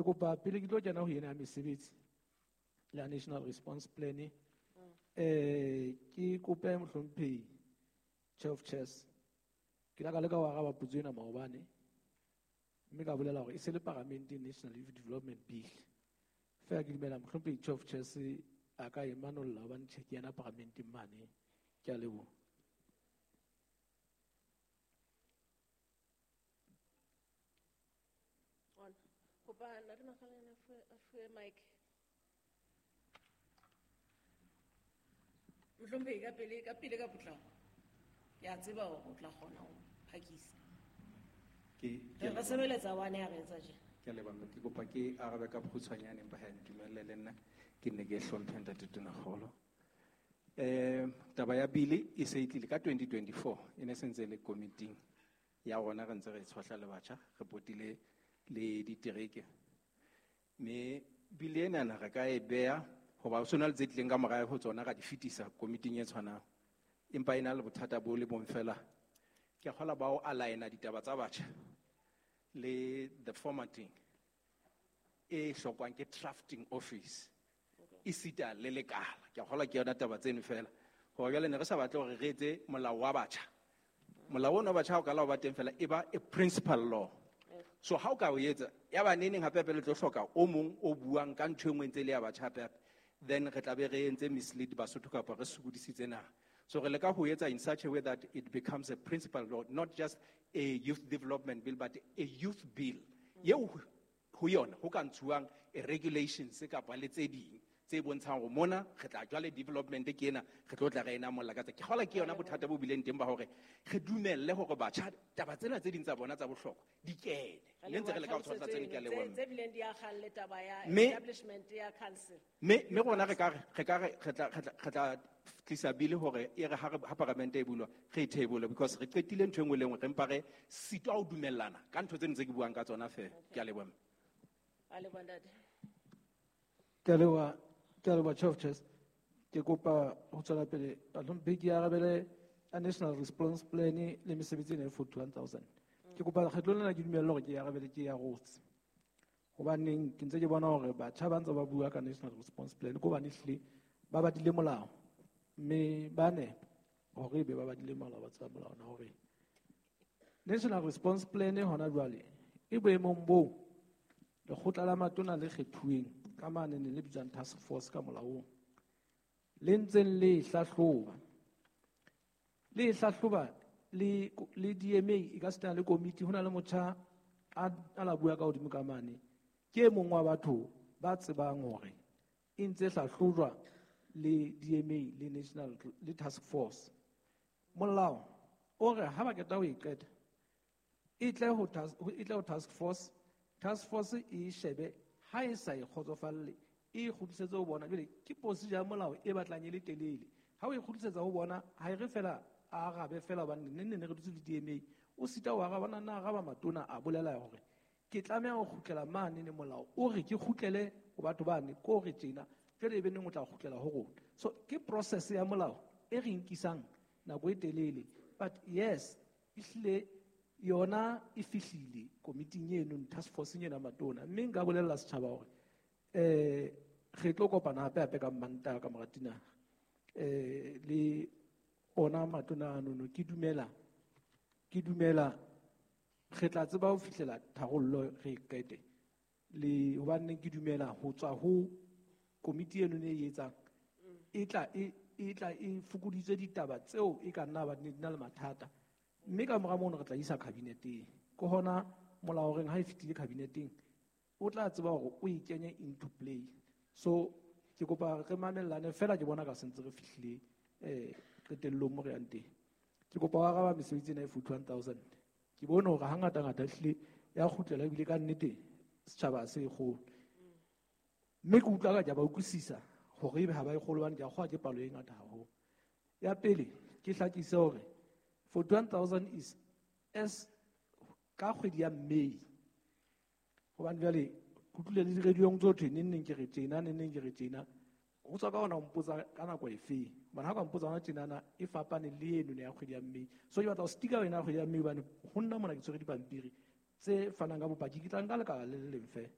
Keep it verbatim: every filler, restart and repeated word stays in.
Ke kopa pele ke tlo kena ho ena ya mesebetsi la National Response Plan, eh ke kope mohlomphehi Chair of Chairs. Ke la ka leka ho araba potso ena maobane, mme ka bolela hore e se le Parliament National Youth Development Bill. Feela ke dumela mohlomphehi Chair of Chairs a ka e manolla hobane tjhe ke yena Parliamenteng mane. Ke a leboha. On. Kopa Ntate Makgalane a fuwe, a fuwe mic. Mohlomphehi, ka pele, ka pele ka potlako. Ke a tseba hore o tla kgona ho phakisa. Ke, ke Re re sebeletsa one ya re etsa tje. Ke a leboha, ke kopa ke arabe ka bokgutshwanyane empa ha ntumelle le nna ke nne ke hlomphe Ntate Tonakgolo. Eh, taba ya bili e se e tlile ka twenty twenty-four, e ne sentse le committee ya rona re ntse re tshohla le batjha, re potile le ditereke. Mme bili enana re ka e beha hoba ho sona le tse tlileng ka morao ho tsona ra di fetisa committee e tshwanang. Empa e na le bothata bo le bong fela. Ke a kgolwa ba o align-a ditaba tsa batjha le the formatting e hlokwang ke drafting office esita le lekala. Ke a kgolwa ke yona taba tseno fela. Hore jwale ne re sa batle hore re etse molao wa batjha. Molao ona wa batjha ha o ka la o ba teng fela e ba a principal law. So ha o ka o etsa ya ba neneng hape hape le tlo hloka o mong o buang ka ntho e nngwe ntse le ya batjha hape hape, then re tla be re entse mislead Basotho kapa re sokodisitse naha. So re leka ho etsa in such a way that it becomes a principal law, not just a youth development bill, but a youth bill. Yeo ho yona ho ka ntshuwang a regulations kapa le tse ding tse bontshang hore mona re tla jwale development ke ena, re tlo tla re ena molla ka tse. Ke kgolwa ke yona bothata bo bileng teng ba hore re dumelle hore batjha taba tsena tse ding tsa bona tsa bohlokwa di kene. Re Ne ntse re leka ho leboha tshwara tseno, ke a leboha. Tse bileng di akgang le taba ya Mme establishment ya council. Mme, mme rona re ka re, re ka re, re tla, re tla, re tla tlisa bili hore e re ha re, ha paramente e bulwa, re e table, because re qetile ntho e nngwe le nngwe, re mpa re sitwa ho dumellana ka ntho tseno tse ke buang ka tsona feela. Ke a leboha. A leboha, ntate. Ke a leboha, ke a leboha, Chair of Chairs. Ke kopa ho tswela pele, Bahlomphehi, ke arabele a National Response Plan le mesebetsi ena e forty-one thousand. Ke kopa lekgetlo lena ke dumelle hore ke arabele ke ya rotse. Hobaneng ke ntse ke bona hore batjha ba ntse ba bua ka National Response Plan, ke hobane ehlile ba badile molao, mme ba nepa hore ebe ba badile molao, ba tseba molao na hore National Response Plan hona jwale e boemong boo lekgotla la matona le kgethuweng ka mane ne le bitswang task force ka molaong, le ntseng le e hlahloba. Le e hlahloba le, le D M A e ka sitana le komiti. Ho na le motjha a, a la bua ka hodimo ka mane, ke e mong wa batho ba tsebang hore e ntse hlahlojwa le D M A le National le task force. Molao o re ha ba qeta ho e qeta, e tle ho task, e tle ho task force, task force e shebe ha e sa e kgotsofalle, e kgutlisetse ho bona. Jwale ke procedure ya molao e batlang e le telele. Ha o e kgutlisetsa ho bona, ha e re fela a arabe fela, hobane neng neng re dutse le D M A, o sita ho araba, na araba matona a bolela hore ke tlameha ho kgutlela mane ne molao o re ke kgutlele ho batho bane, ko re tjena, jwale e be neng o tla kgutlela ho rona. So ke process ya molao e re nkisang nako e telele, but yes, ehlile yona e fihlile komiting eno, task force ena matona. Mme nka bolella setjhaba hore, eh, re tlo kopana hape hape ka Mantaha ka mora tina, eh, le ona matona ano. Ke dumela, ke dumela re tla tseba ho fihlela tharollo re e qete. Le hobane ke dumela ho tswa ho komiti eno e etsang, e tla e, e tla e fokoditse ditaba tseo e ka nna ba di na le mathata. Mme ka mora mono re tla isa kabineteng. Ke hona molao reng ha e fetile kabineteng, o tla tseba hore o e kenye into play. So ke kopa re mamellane fela, ke bona ka sentse re fihlile, eh, qetellong mo re yang teng. Ke kopa ho araba mesebetsi ena e forty-one thousand. Ke bone hore hangata-ngata ehlile ya kgutlela ebile ka nnete setjhaba se e kgolo. Mme ke utlwa ka ke a ba utlwisisa hore ebe ha ba e kgolo, hobane ke a kgolwa ke palo e ngata haholo. Ya pele, ke hlakise hore forty-one thousand is as ka kgwedi ya May. Hobane jwale ke utlwile le di-radio-ong tso thwe neng neng ke re tjena, neng neng ke re tjena. Ho tswa ka hona ho mpotsa ka nako efe. Hobane ha o ka mpotsa hona tjenana, e fapane le eno ya kgwedi ya May. So ke batla ho stika wena ya kgwedi ya May, hobane ho nna mona ke tshwere dipampiri tse fanang ka bopaki. Ke tla nka lekala le le leng feela.